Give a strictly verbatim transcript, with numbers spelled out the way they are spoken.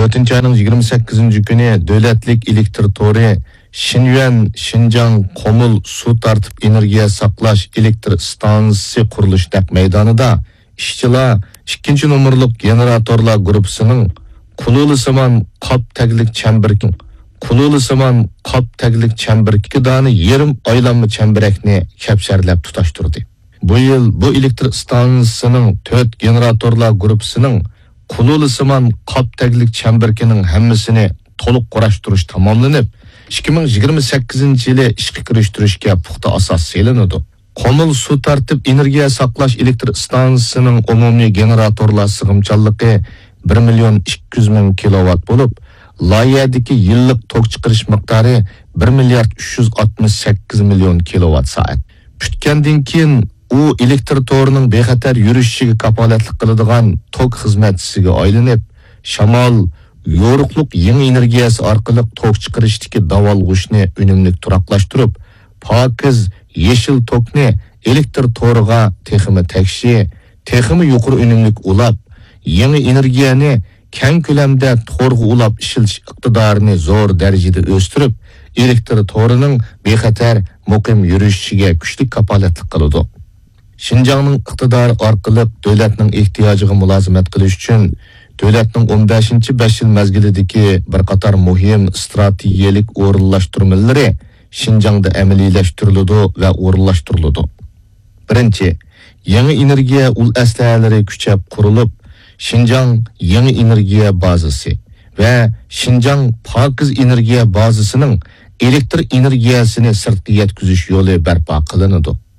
تۆتىنچى ئاينىڭ يىگىرمە سەككىزىنچى كۈنى دۆلەتلىك ئېلېكتر تورى شىنيۈەن شىنجاڭ قومۇل سۇ تارتىپ ئېنېرگىيە ساقلاش ئېلېكتر ئىستانسىسى قۇرۇلۇش نەق مەيدانىدا ئىشچىلار ئىككىنچى نومۇرلۇق گېنېراتورلار گۇرۇپپىسىنىڭ قۇلۇلىسىمان قاپ تەگلىك چەمبىرىكىنىڭ قۇلۇلىسىمان قاپ تەگلىك چەمبىرىكى دانە يېرىم ئايلانما چەمبىرەكنى كەپسەرلەپ تۇتاشتۇردى. بۇ يىل بۇ ئېلېكتر ئىستانسىسىنىڭ تۆت گېنېراتورلار گۇرۇپپىسىنىڭ قۇلۇلىسىمان قاپ تەگلىك چەمبىرىكىنىڭ ھەممىسىنى تولۇق قۇراشتۇرۇش تاماملىنىپ، ئىككى مىڭ يىگىرمە سەككىزىنچى يىلى ئىشقا كىرىشتۈرۈشكە پۇختا ئاساس سېلىنىدۇ. قومۇل سۇ تارتىپ ئېنېرگىيە ساقلاش ئېلېكتر ئىستانسىسىنىڭ ئومۇمىي گېنېراتورلار سىغىمچانلىقى بىر مىليون ئىككى يۈز مىڭ كىلوۋات بولۇپ، لايىھەدىكى يىللىق توك چىقىرىش مىقدارى بىر مىليارد ئۈچ يۈز ئاتمىش سەككىز مىليون كىلوۋات سائەت. پۈتكەندىن كېيىن ئۇ ئېلېكتر تورىنىڭ بىخەتەر يۈرۈشۈشىگە كاپالەتلىك قىلىدىغان توك خىزمەتچىسىگە ئايلىنىپ، شامال، يورۇقلۇق يېڭى ئېنېرگىيەسى ئارقىلىق توك چىقىرىشتىكى داۋالغۇشنى ئۈنۈملۈك تۇراقلاشتۇرۇپ، پاكىز يېشىل توكنى ئېلېكتر تورىغا تېخىمۇ تەكشى، تېخىمۇ يۇقىرى ئۈنۈملۈك ئۇلاپ، يېڭى ئېنېرگىيەنى كەڭ كۆلەمدە تورغا ئۇلاپ ئىشلىتىش ئىقتىدارىنى زور دەرىجىدە ئۆستۈرۈپ، ئېلېكتر تورىنىڭ بىخەتەر، مۇقىم يۈرۈشۈشىگە كۈچلۈك كاپالەتلىك قىلىدۇ. شىنجاڭنىڭ ئىقتىدارى ئارقىلىق دۆلەتنىڭ ئېھتىياجىغا مۇلازىمەت قىلىش ئۈچۈن، دۆلەتنىڭ ئون بەشىنچى بەش يىل مەزگىلىدىكى بىر قاتار مۇھىم ئىستراتېگىيەلىك ئورۇنلاشتۇرمىلىرى شىنجاڭدا ئەمەلىيلەشتۈرۈلىدۇ ۋە ئورۇنلاشتۇرۇلىدۇ. بىرىنچى، يېڭى ئېنېرگىيە ئۇل ئەسلىھەلىرى كۈچەپ قۇرۇلۇپ، شىنجاڭ يېڭى ئېنېرگىيە بازىسى ۋە شىنجاڭ پاكىز ئېنېرگىيە بازىسىنىڭ ئېلېكتر ئېنېرگىيەسىنى سىرتقا يەتكۈزۈش يولى بەرپا قىلىنىدۇ.